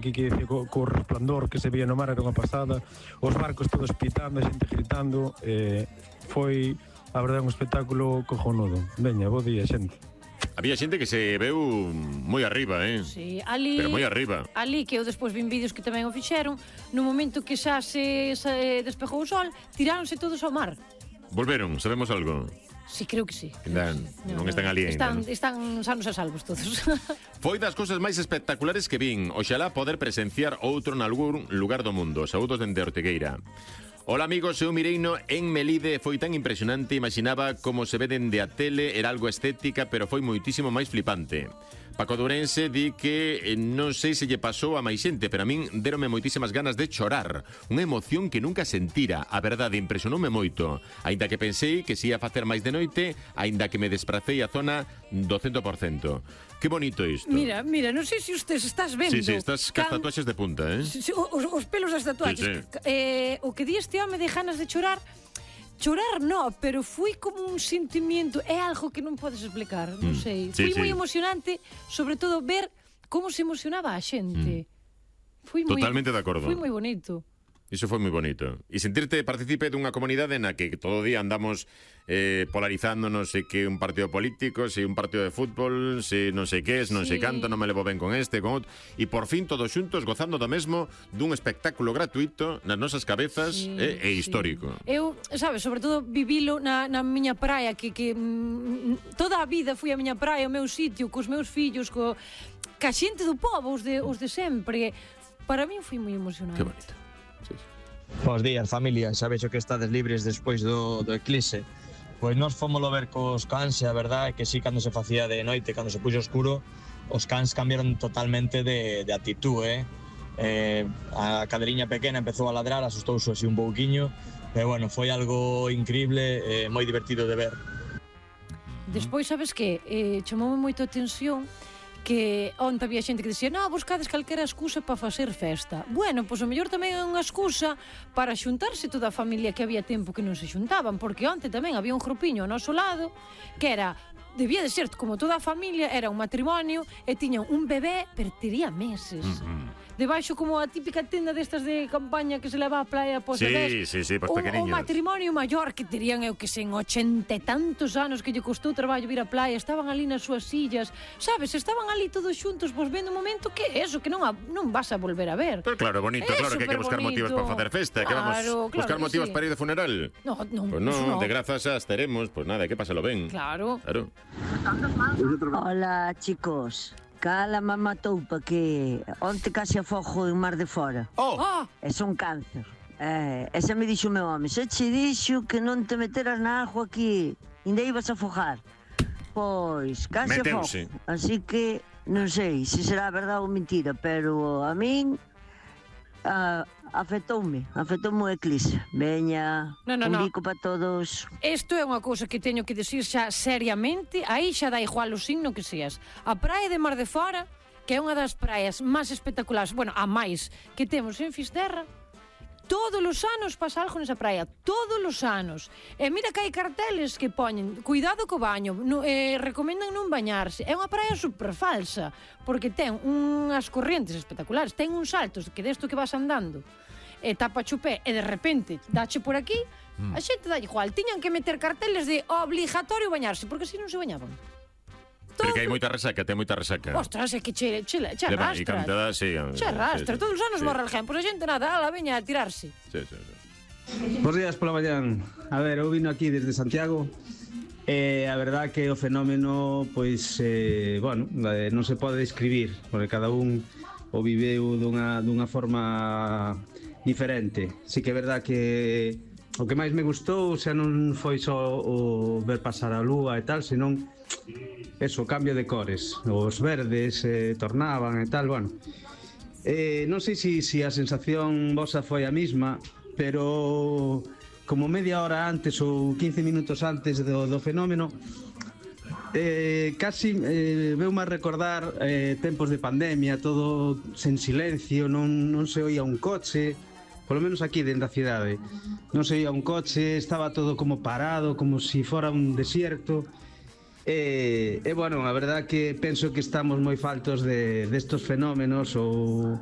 que dicía co resplandor que se veía no mar era unha pasada, os barcos todos pitando, a xente gritando, foi, a verdade, un espectáculo cojonudo. Veña, bo día, xente. Había xente que se veu moi arriba, Sí, ali, pero moi arriba. Ali, que eu despois vin vídeos que tamén o fixeron, no momento que xa se despejou o sol, tiráronse todos ao mar. Volveron, sabemos algo? Sí, creo que sí. Non están ali ainda. Están sanos e salvos todos. Foi das cousas máis espectaculares que vin. Oxalá poder presenciar outro nalgún lugar do mundo. Saúdos dende Ortigueira. Hola amigos, eu mireino en Melide, foi tan impresionante, imaginaba como se ve dende a tele, era algo estética, pero foi moitísimo máis flipante. Paco Dourense di que non sei se lle pasou a máis xente, pero a min derome moitísimas ganas de chorar. Unha emoción que nunca sentira, a verdade, impresionoume moito. Aínda que pensei que se ia facer máis de noite, aínda que me despracei a zona do 100%. Que bonito isto. Mira, non sei se usted estás vendo. Sí, estás cas tatuaxes de punta, Os pelos das tatuaxes. O que di este home de ganas de chorar, no, pero foi como un sentimiento, é algo que non podes explicar, non sei. Foi moi emocionante, sobre todo ver como se emocionaba a xente. Totalmente de acordo. Foi moi bonito. Iso foi moi bonito. E sentirte partícipe dunha comunidade na que todo o día andamos polarizándonos, se que un partido político, se un partido de fútbol, se non sei que, non sei canto, non me levo ben con este, con outro, e por fin todos xuntos gozando do mesmo dun espectáculo gratuito nas nosas cabezas e histórico. Eu, sabes, sobre todo vivilo na miña praia, que toda a vida fui a miña praia, o meu sitio, cos meus fillos, ca xente do povo, os de sempre. Para min foi moi emocionante. Que bonito. Bos días, familia, xa vexo que estades libres despois do eclipse. Pois nós fómolo ver cos cans, e a verdade é que sí, cando se facía de noite, cando se puxo oscuro, os cans cambiaron totalmente de actitude, a cadeliña pequena empezou a ladrar, asustouse así un pouquiño, pero bueno, foi algo increíble, moi divertido de ver. Despois, sabes que chamoume moito a atención que onte había xente que dicía buscades calquera excusa para facer festa. Bueno, pois o mellor tamén é unha excusa para xuntarse toda a familia que había tempo que non se xuntaban, porque onte tamén había un grupiño ao noso lado que debía de ser como toda a familia, era un matrimonio e tiñan un bebé, pero tería meses. Debaixo como a típica tenda destas de campaña que se leva á praia pos bebés. Sí, pos pequeniños. O matrimonio maior que terían, eu que sei, en 80 e tantos anos que lle costou traballo vir á praia, estaban ali nas súas sillas, sabes, estaban ali todos xuntos, vos vendo un momento que é eso, que non vas a volver a ver. Pero claro, bonito, claro que hai que buscar motivos para facer festa, que vamos buscar motivos para ir de funeral. Non, de grazas xa estaremos, pois nada, hai que pasalo ben. Claro. Hola, chicos. Cala me matou pa que onte case afogo en Mar de Fora. É son cáncer. Esa me dixo o meu home, se che dixo que non te meteras na agua aquí, ainda ibas a afogar. Pois, case afogo. Así que non sei se será verdade ou mentira, pero a min afectoume o eclipse. Veña, un bico para todos. Isto é unha cousa que teño que decir xa seriamente, aí xa dá igual o signo que seas. A praia de Mar de Fora, que é unha das praias máis espectaculares, bueno, a máis que temos en Fisterra, todos os anos pasa algo nesa praia, todos os anos. E mira que hai carteles que poñen cuidado co baño, recomendan non bañarse. É unha praia super falsa, porque ten unhas corrientes espectaculares, ten uns saltos que desto que vas andando, e tapa o pé, e de repente dache por aquí, a xente dá igual. Tiñan que meter carteles de obligatorio bañarse, porque así non se bañaban. Pero que hai moita resaca, ten moita resaca. Ostras, é que che arrastra. Che arrastra, todos os anos morre alguén. Pois a xente nada, veña a tirarse. Bos días pola mañán. A ver, eu vino aquí desde Santiago. A verdad que o fenómeno, pois, non se pode describir, porque cada un o viveu dunha forma diferente. Sí que é verdad que o que máis me gustou xa non foi só o ver pasar a lúa e tal, senón eso, cambio de cores, os verdes tornaban e tal, bueno. Non sei se a sensación vosa foi a mesma, pero como media hora antes ou 15 minutos antes do fenómeno, casi veume a recordar tempos de pandemia, todo sen silencio, non se oía un coche, polo menos aquí dentro da cidade, non se oía un coche, estaba todo como parado, como se fora un desierto. Bueno, a verdad que penso que estamos moi faltos destos fenómenos ou